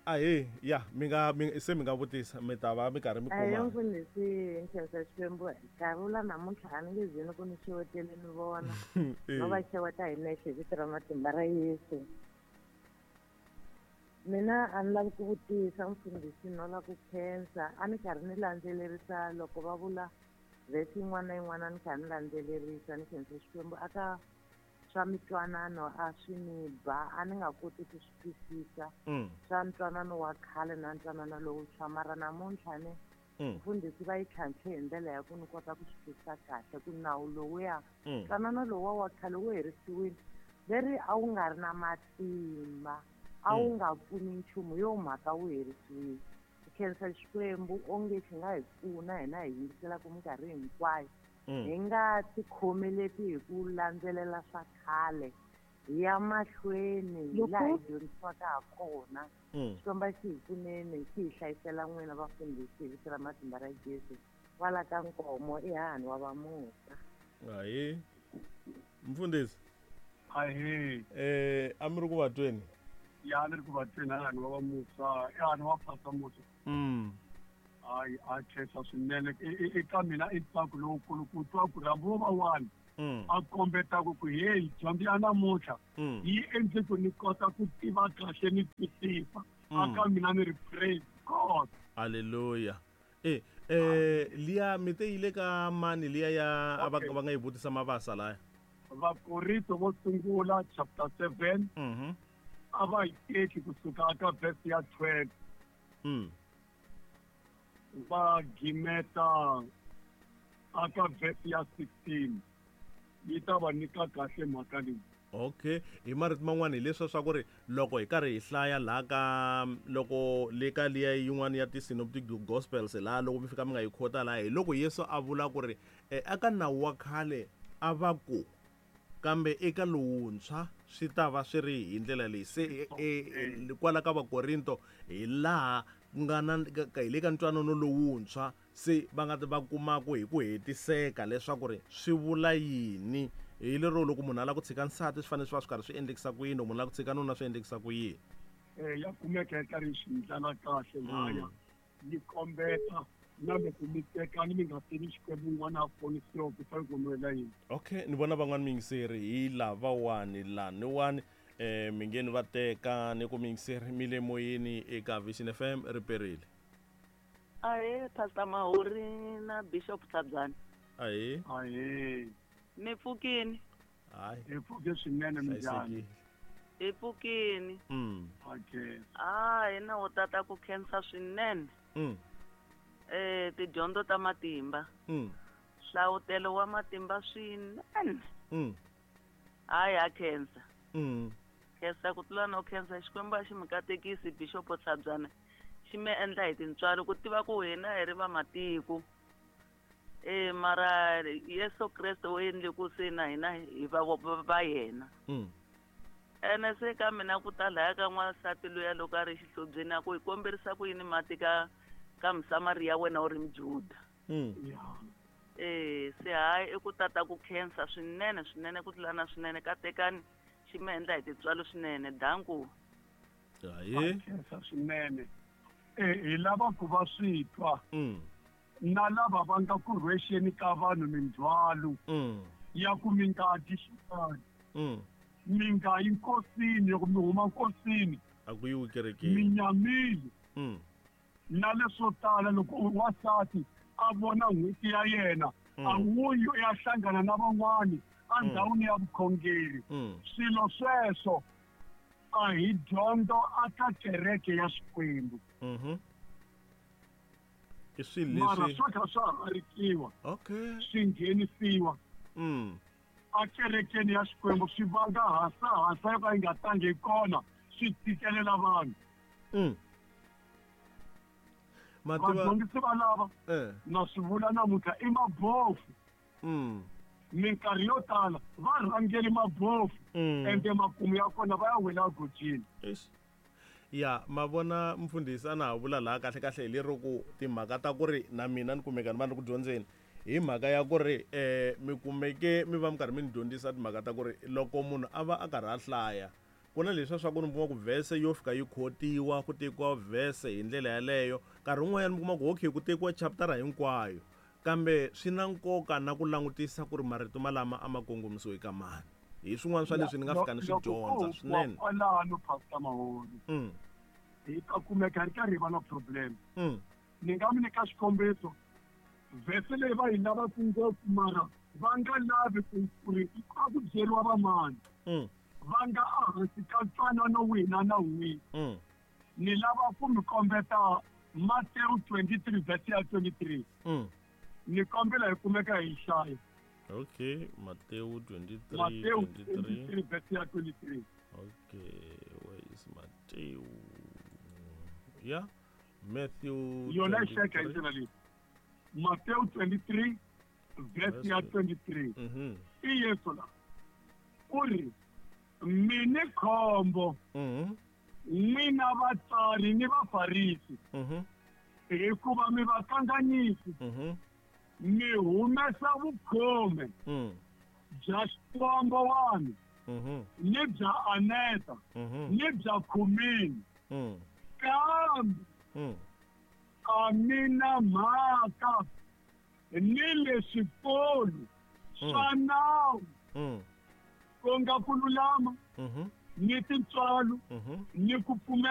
Ahe, ya, mi nga se mi nga vutisa, mi ta va mi karhi mi kuma. Ayi mfundhisi, nkhensa Xikwembu, nkarhi wu la namuntlha a ni nge zi ni ku ni xewetele ni vona. No va xeweta hi nexe hi vito ra matimba ra Yesu. Mina a ni lavi ku vutisa mfundhisi, no lava ku khensa. A ni karhi ni landzelerisa loko va vula vhesi yin'wana na yin'wana, a ni karhi ni landzelerisa, ni khensa Xikwembu aka swa mitwanano a swi ni ba, a ni nga koti ku swi twisisa. Swa ntwanano wa khale na ntwanano lowuntshwa, mara namuntlha ni mfundhisi va yi tlhantlhe hi ndlela ya ku ni kota ku swi twisisa kahle ku nawu lowuya, ntwanano lowuwa wa khale wu herisiwile, leri a wu nga ri na matimba, a wu nga pfuni nchumu, yo mhaka wu herisiwile. Ku khensa Xikwembu onge xi nga hi pfuna hina hi yingiselaka minkarhi hinkwayo. Hi nga tikhomeleti hi ku landzelela swa khale, hi ya mahlweni hi laha hi dyondzisiwaka ha kona. Xikwembu xi hi pfuneni, xi hi hlayisela n'wina vafundhisi hi vito ra matimba ra Yesu. Kwala ka Nkomo i hahani wa Vamusa. Hayi, mfundhisi. Ahee. A mi ri ku vatweni? Ya, ni ri ku vatweni hani wa va Musa, hani wa Pastor Musa. Hayi, a khensa swinene. Eka mina i ntsako lowukulu ku twa ku ri hambi wo va one a kombetaka ku hey, dyondzo ya namuntlha yi endle ku ni kota ku tiva kahle ni twisisa. Aka mina ni ri praise God. Hallelujah. Liya mi te yile ka mani liya ya a va nga yi vutisa Mavasa laya? Vakorinto vo sungula chapter 7. A va yi teki kusuka ka verse ya 12. Va gimeta aka verse ya 16. Yi ta va nyika kahle mhaka leyi. Okay, hi marito man'wana hi leswa swa ku ri loko hi karhi hi hlaya laha ka loko le ka liya yin'wana ya ti-synoptic gospels laha loko mi fika mi nga yi khota laha hi loko Yesu a vula ku ri eka nawu wa khale a va ku kambe eka lowuntshwa swi ta va swi ri hi ndlela leyi. Se kwala ka Vakorinto hi laha ku nga na hi le ka ntwanano lowuntshwa se va nga ta va kumaku hi ku hetiseka leswaku ri swi vula yini. Hi lero loko munhu a lava ku tshika nsati swi fanele swi va swi karhi swi endlekisa ku yini, loko munhu a lava ku tshika nuna swi endlekisa ku yini. Ya kumeka yi karhi yi swi ndlela kahle laya yi kombeta na loko mi tekani mi nga tivi Xikwembu un'wana a ponisiwa ku fanele ku humelela yini. Okay, ni vona van'wani miyingiseri hi lavawani laniwani mi nge ni va teka ni ku miyingiseri mi le moyeni eka Vision FM ri perile. Ahee, Pastor Mahuri na Bishop Tlhabyana. Ahee. Ahee. Mi pfukini? Hayi. Hi pfuke swinene minjhani? Hi pfukini. Okay. Hina wo tata ku khensa swinene. Tidyondzo ta matimba. Hlavutelo wa matimba swinene. Hayi, ha khensa. Khensa ku tlula no khensa Xikwembu a xi mi katekisi Bishop Tlhabyana. Xi mi endla hi tintswalo ku tiva ku hina hi ri va matiko. Mara Yesu Kreste u endle ku se na hina hi va va yena. Ene se ka mina ku ta laya ka n'wansati luya loko a ri xihlobyeni a ku hi komberisa ku yini mati ka Musamariya wena u ri Mujuda. Se hayi i ku tata ku khensa swinene swinene ku tlula na swinene katekani xi mi endla hi tintswalo swinene. Danku. Hayi. Khensa swinene. Hi lava ku va swi twa. Na lava va nga ku rhwexeni ka vanhu mindzhwalo ya ku mi nga dyi xin'wana. Mi nga yi nkosini, loko mi huma nkosini a ku yiwi kerekeni. Mi nyamile. Na leswo tala loko wansati a vona n'hweti ya yena a wuyi u ya hlangana na van'wani endhawini ya vukhongeri. Swilo sweswo a hi dyondzo aka kereke ya Xikwembu. I swilo Mara leswi swo tlhela swa harikiwa. Okay. Swi nghenisiwa. A kerekeni ya Xikwembu swi vanga hasa hasa yo ka yi nga tangi hi kona, swi tikelela vanhu. Vadyondzisi va lava na swi vula namuntlha i mabofu. Minkarhi yo tala va rhangeli mabofu. Ende makumu ya kona va ya wela egojini. Eish. Ya, ma vona mfundhisi a na ha vula laha kahle kahle hi lero ku timhaka ta ku ri na mina ni kumeka ni va ni ri ku dyondzeni hi mhaka ya ku ri mi kumeke mi va mi karhi mi ni dyondzisa timhaka ta ku ri loko munhu a va a karhi a hlaya ku na leswiya swa ku ni kuma ku verse yo fika yi khotiwa ku tekiwa verse hi ndlela yaleyo nkarhi wun'wanyana mi kuma ku okay ku tekiwa chaptara hinkwayo kambe swi na nkoka na ku langutisa ku ri marito malama a ma kongomisiwe ka mani. Hi swin'wana swa leswi ni nga fika ni swi dyondza swinene. Kwalano Pastor Mahoni. Hi ta kumeka hi ri karhi hi va na problem. Ni nga mi nyika xikombiso verse leyi va yi lavaka ngopfu mara va nga lavi ku ri a ku byeriwa vamani. Va nga ehansi ka ntwanano wihi na na wihi. Ni lava ku mi kombeta Matthew 23 verse ya 23. Ni kombela hi kumeka hi hlaya. Okay, Matthew 23, Matthew 23. 23 verse ya 23. Okay, where is Matthew? Yeah, Matthew Yona yi hleka hi 23. ndlela leyi. Matthew 23 verse ya 23. I Yesu la. U ri mi ni khombo. N'wina vatsari ni vafarisi. Hikuva mi vakanganyisi. Mi humesa vukhume bya xikwembu wani. Ni bya aneta. Ni bya khumini. Kambe a mi na mhaka ni le swikolo swa nawu ku nga ku lulama ni tintswalo ni ku pfumela.